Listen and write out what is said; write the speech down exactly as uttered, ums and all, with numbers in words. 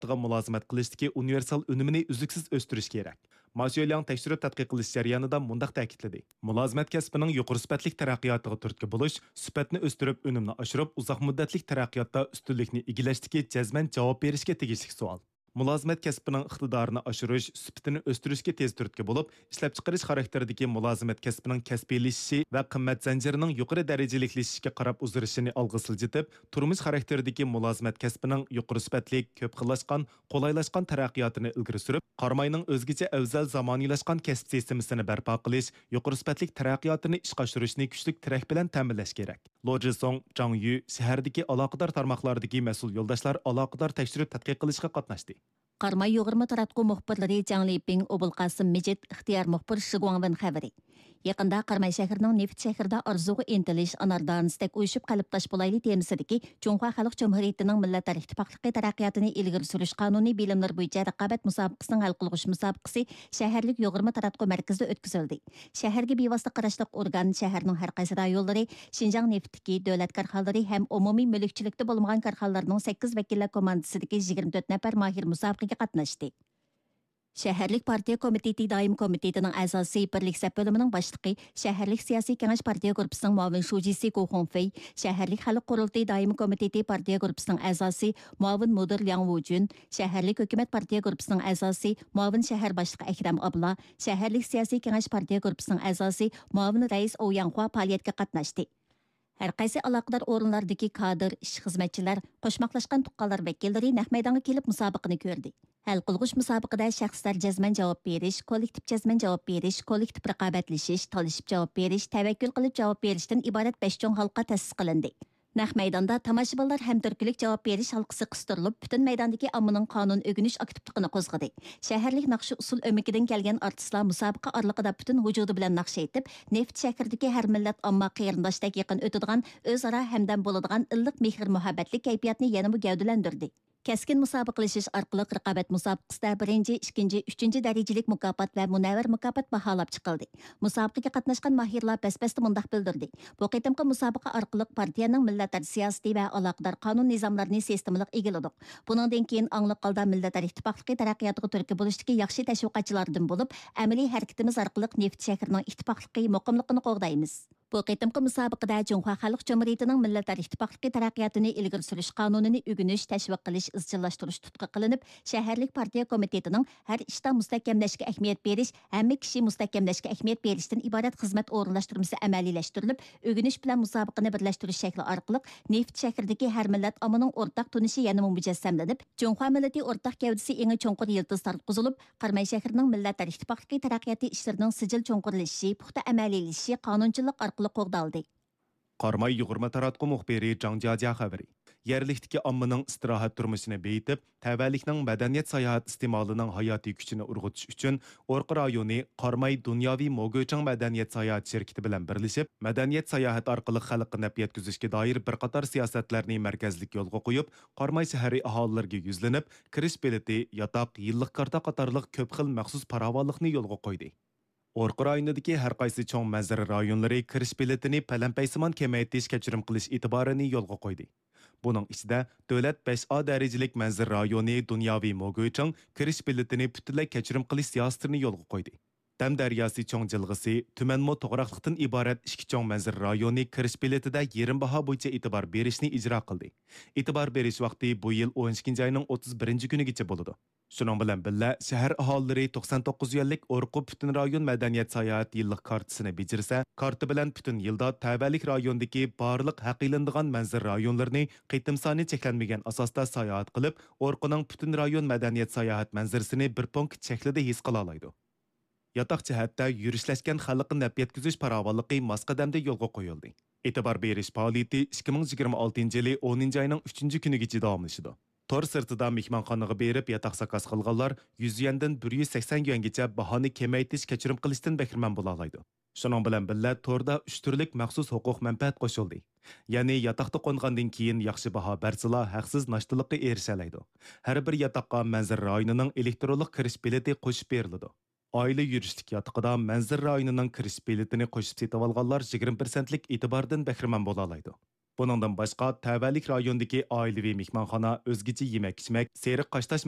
سۈپىتىغا مۇلازىمەت قىلىشتىكى ئۇنىۋېرسال ئۈنۈمىنى ئۈزلۈكسىز ئۆستۈرۈش كېرەك. ما شۆلياڭ تەكشۈرۈپ تەتقىق قىلىش جەريانىدا مۇنداق تەكىتلىدى: مۇلازىمەت كەسپىنىڭ يۇقىرى سۈپەتلىك تەرەققىياتىغا تۈرتكە بولۇش، سۈپەتنى ئۆستۈرۈپ، ئۈنۈمنى ئاشۇرۇپ، ئۇزاق مۇددەتلىك تەرەققىياتتا ئۈستۈنلۈكنى ئىگىلەشتىكى جەزمەن جاۋاب بېرىشكە تېگىشلىك سوئال. مۇلازىمەت كەسپىنىڭ ئىقتىدارىنى ئاشۇرۇش، سۈپىتىنى ئۆستۈرۈشكە تېز تۈرتكە بولۇپ، ئىشلەپچىقىرىش خاراكتېرىدىكى مۇلازىمەت كەسپىنىڭ كەسپىيلىشىشى ۋە قىممەت زەنجىرىنىڭ يۇقىرى دەرىجىلىكلىشىشىگە قاراپ ئۇزىرىشىنى ئالغا سىلجىتىپ، تۇرمۇش خاراكتېرىدىكى مۇلازىمەت كەسپىنىڭ يۇقىرى سۈپەتلىك، كۆپ خىللاشقان، قولايلاشقان تەرەققىياتىنى ئىلگىرى سۈرۈپ، قاراماينىڭ ئۆزگىچە ئەۋزەل زامانىۋىلاشقان كەسىپ سىستېمىسىنى بەرپا قىلىش، يۇقىرى سۈپەتلىك تەرەققىياتىنى ئىشقا ئاشۇرۇشنى كۈچلۈك تىرەك بىلەن تەمىنلەش كېرەك. لو جىسۇڭ، جاڭ يۈ شەھەردىكى ئالاقىدار تارماقلاردىكى مەسئۇل يولداشلار ئالاقىدار تەكشۈرۈپ تەتقىق قىلىشقا قاتناشتى. قاراماي يۇغۇرما تاراتقۇ مۇخبىرلىرى جاڭ لىپىڭ، ئوبۇلقاسىم مىجىت، ئىختىيار مۇخبىر شى گۇاڭۋېن خەۋىرى. يېقىندا قاراماي شەھىرىنىڭ نېفىت شەھىرىدە ئارزۇغا ئىنتىلىش، ئانار دانىسىدەك ئۇيۇشۇپ قەلبداش بولايلى تېمىسىدىكى جۇڭخۇا خەلق جۇمھۇرىيىتىنىڭ مىللەتلەر ئىتتىپاقلىقى تەرەققىياتىنى ئىلگىرى سۈرۈش قانۇنى بىلىملىرى بويىچە رىقابەت مۇسابىقىسىنىڭ ھەل قىلغۇچ مۇسابىقىسى شەھەرلىك يۇغۇرما تاراتقۇ مەركىزىدە ئۆتكۈزۈلدى. شەھەرگە بىۋاسىتە قاراشلىق ئورگان شەھەرنىڭ ھەر قايسى رايونلىرى، شىنجاڭ نېفىتتىكى دۆلەت كارخانىلىرى ھەم ئومۇمىي مۈلۈكچىلىكتە بولمىغان كارخانىلارنىڭ سەككىز ۋەكىللەر كوماندىسىدىكى يىگىرمە تۆت نەپەر ماھىر مۇسابىقىگە قاتناشتى. شەھەرلىك پارتىيە كومىتېتى دائىمىي كومىتېتىنىڭ ئەزاسى، بىرلىك سەپ بۆلۈمىنىڭ باشلىقى، شەھەرلىك سىياسىي كېڭەش پارتىيە گۇرۇپپىسىنىڭ مۇئاۋىن شۇجىسى گو خۇڭفېي، شەھەرلىك خەلق قۇرۇلتىيى دائىمىي كومىتېتى پارتىيە گۇرۇپپىسىنىڭ ئەزاسى، مۇئاۋىن مۇدىر لياڭ ۋۇجۈن، شەھەرلىك ھۆكۈمەت پارتىيە گۇرۇپپىسىنىڭ ئەزاسى، مۇئاۋىن شەھەر باشلىقى ئەكرەم ئابلا، شەھەرلىك سىياسىي كېڭەش پارتىيە گۇرۇپپىسىنىڭ ئەزاسى، مۇئاۋىن رەئىس ئوۋ ياڭخۇا پائالىيەتكە قاتناشتى. ھەر قايسى ئالاقىدار ئورۇنلاردىكى كادىر، ئىش خىزمەتچىلەر، قوشماقلاشقان تۇغقانلار ۋەكىللىرى نەق مەيدانغا كېلىپ مۇسابىقىنى كۆردى. ھەل قىلغۇچ مۇسابىقىدە شەخسلەر جەزمەن جاۋاب بېرىش، كوللېكتىپ جەزمەن جاۋاب بېرىش، كوللېكتىپ رىقابەتلىشىش، تالىشىپ جاۋاب بېرىش، تەۋەككۈل قىلىپ جاۋاب بېرىشتىن ئىبارەت بەش چوڭ ھالقا تەسىس قىلىندى. نەق مەيداندا تاماشىبىنلار ھەم تۈرتكىلىك جاۋاب بېرىش ھالقىسى قىستۇرۇلۇپ، پۈتۈن مەيداندىكى ئاممىنىڭ قانۇن ئۆگىنىش ئاكتىپلىقىنى قوزغىدى. شەھەرلىك ناخشا ئۇسسۇل ئۆمىكىدىن كەلگەن ئارتىسلار مۇسابىقە ئارىلىقىدا پۈتۈن ۋۇجۇدى بىلەن ناخشا ئېيتىپ، نېفىت شەھىرىدىكى ھەر مىللەت ئامما قېرىنداشتەك يېقىن ئۆتىدىغان ئۆزئارا ھەمدەم بولىدىغان ئىللىق مېھىر-مۇھەببەتلىك كەيپىياتنى يەنىمۇ گەۋدىلەندۈردى. كەسكىن مۇسابىقىلىشىش ئارقىلىق رىقابەت مۇسابىقىسىدە بىرىنچى، ئىككىنچى، ئۈچىنچى دەرىجىلىك مۇكاپات ۋە مۇنەۋۋەر مۇكاپات باھالاپ چىقىلدى. مۇسابىقىگە قاتناشقان ماھىرلار بەس-بەستە مۇنداق بىلدۈردى: بۇ قېتىمقى مۇسابىقە ئارقىلىق پارتىيەنىڭ مىللەتئارا سىياسىتى ۋە ئالاقىدار قانۇن نىزاملىرىنى سىستېمىلىق ئىگىلىدۇق. بۇنىڭدىن كېيىن ئاڭلىق ھالدا مىللەتئارا ئىتتىپاقلىقى تەرەققىياتىغا تۈرتكە بولۇشتىكى ياخشى تەشۋىقاتچىلاردىن بولۇپ، ئەمەلىي ھەرىكىتىمىز ئارقىلىق نېفىت شەھىرىنىڭ ئىتتىپاقلىقى، مۇقىملىقىنى قوغدايمىز. بۇ قېتىمقى مۇسابىقىدە جۇڭخۇا خەلق جۇمھۇرىيىتىنىڭ مىللەتئارا ئىتتىپاقلىقى تەرەققىياتىنى ئىلگىرى سۈرۈش قانۇنىنى ئۆگىنىش، تەشۋىق قىلىش، ئىزچىللاشتۇرۇش تۇتقا قىلىنىپ، شەھەرلىك پارتىيە كومىتېتىنىڭ ھەر ئىشتا مۇستەھكەملەشكە ئەھمىيەت بېرىش، ھەممە كىشى مۇستەھكەملەشكە ئەھمىيەت بېرىشتىن ئىبارەت خىزمەت ئورۇنلاشتۇرمىسى ئەمەلىيلەشتۈرۈلۈپ، ئۆگىنىش بىلەن مۇسابىقىنى بىرلەشتۈرۈش شەكلى ئارقىلىق نېفىت شەھىرىدىكى ھەر مىللەت ئاممىنىڭ ئورتاق تونۇشى يەنىمۇ مۇجەسسەملىنىپ، جۇڭخۇا مىللىتى ئورتاق گەۋدىسى ئېڭى چوڭقۇر يىلتىز تارتقۇزۇلۇپ، قاراماي شەھىرىنىڭ مىللەتئارا ئىتتىپاقلىقى تەرەققىياتى ئىشلىرىنىڭ سىجىل چوڭقۇرلىشىشى، پۇختا ئەمەلىيلىشىشى قانۇنچىلىق ئارقىلىق قوغدالدى. قاراماي يۇغۇرما تاراتقۇ مۇخبىرى جاڭ جياجيا خەۋىرى. يەرلىكتىكى ئاممىنىڭ ئىستىراھەت تۇرمۇشىنى بېيىتىپ، تەۋەلىكنىڭ مەدەنىيەت ساياھەت ئىستېمالىنىڭ ھاياتىي كۈچىنى ئۇرغۇتۇش ئۈچۈن، ئورقا رايونى قاراماي دۇنياۋى موگۇچىڭ مەدەنىيەت ساياھەت شىركىتى بىلەن بىرلىشىپ، مەدەنىيەت ساياھەت ئارقىلىق خەلققە نەپ يەتكۈزۈشكە دائىر بىر قاتار سىياسەتلەرنى مەركەزلىك يولغا قويۇپ، قاراماي شەھىرى ئاھالىلىرىگە يۈزلىنىپ، كىرىش بېلىتى، ياتاق، يىللىق كارتا قاتارلىق كۆپ خىل مەخسۇس پاراۋانلىقنى يولغا قويدى. ئورقا رايونىدىكى ھەر قايسى چوڭ مەنزىرە رايونلىرى كىرىش بېلىتىنى پەلەمپەيسىمان كېمەيتىش، كەچۈرۈم قىلىش ئېتىبارىنى يولغا قويدى. بۇنىڭ ئىچىدە، دۆلەت بەش ئا دەرىجىلىك مەنزىرە رايونى دۇنياۋى موگۇچىڭ كىرىش بېلىتىنى پۈتۈنلەي كەچۈرۈم قىلىش سىياسىتىنى يولغا قويدى. دەم دەرياسى چوڭ جىلغىسى، تۈمەنمۇ توغراقلىقتىن ئىبارەت ئىككى چوڭ مەنزىرە رايونى كىرىش بېلىتىدە يېرىم باھا بويىچە ئېتىبار بېرىشنى ئىجرا قىلدى. ئېتىبار بېرىش ۋاقتى بۇ يىل ئون ئىككىنچى ئاينىڭ ئوتتۇز بىرىنچى كۈنىگىچە بولىدۇ. شۇنىڭ بىلەن بىللە، شەھەر ئاھالىلىرى توقسان توققۇز يۈەنلىك ئورقا پۈتۈن رايون مەدەنىيەت ساياھەت يىللىق كارتىسىنى بېجىرسە، كارتا بىلەن پۈتۈن يىلدا تەۋەلىك رايوندىكى بارلىق ھەق ئېلىنىدىغان مەنزىرە رايونلىرىنى قېتىم سانى چەكلەنمىگەن ئاساستا ساياھەت قىلىپ، ئورقىنىڭ پۈتۈن رايون مەدەنىيەت ساياھەت مەنزىرىسىنى بىر پونكىت شەكلىدە ھېس قىلالايدۇ. ياتاق جەھەتتە يۈرۈشلەشكەن خەلققە نەپ يەتكۈزۈش پاراۋانلىقى ماس قەدەمدە يولغا قويۇلدى. ئېتىبار بېرىش پائالىيىتى ئىككى مىڭ يىگىرمە ئالتىنچى يىلى ئونىنچى ئاينىڭ ئۈچىنچى كۈنىگىچە داۋاملىشىدۇ. تور سىرتىدا مېھمانخانىغا بېرىپ ياتاق زاكاز قىلغانلار يۈز يۈەندىن بىر يۈز سەكسەن يۈەنگىچە باھانى كېمەيتىش، كەچۈرۈم قىلىشتىن بەھرىمەن بولالايدۇ. شۇنىڭ بىلەن بىللە، توردا ئۈچ تۈرلۈك مەخسۇس ھوقۇق مەنپەئەت قوشۇلدى. يەنى ياتاقتا قونغاندىن كېيىن ياخشى باھا بەرسىلا، ھەقسىز ناشتىلىققا ئېرىشەلەيدۇ. ھەر بىر ياتاققا مەنزىرە رايونىنىڭ ئېلېكترونلۇق كىرىش بېلىتى قوشۇپ بېرىلىدۇ. ئائىلە يۈرۈشلۈك ياتىقىدا مەنزىرە رايونىنىڭ كىرىش بېلىتىنى قوشۇپ سېتىۋالغانلار يىگىرمە پىرسەنتلىك ئېتىباردىن بەھرىمەن بولالايدۇ. بۇنىڭدىن باشقا، تەۋەلىك رايونىدىكى ئائىلىۋى مېھمانخانا، ئۆزگىچە يېمەك-ئىچمەك، سېرىق قاشتاش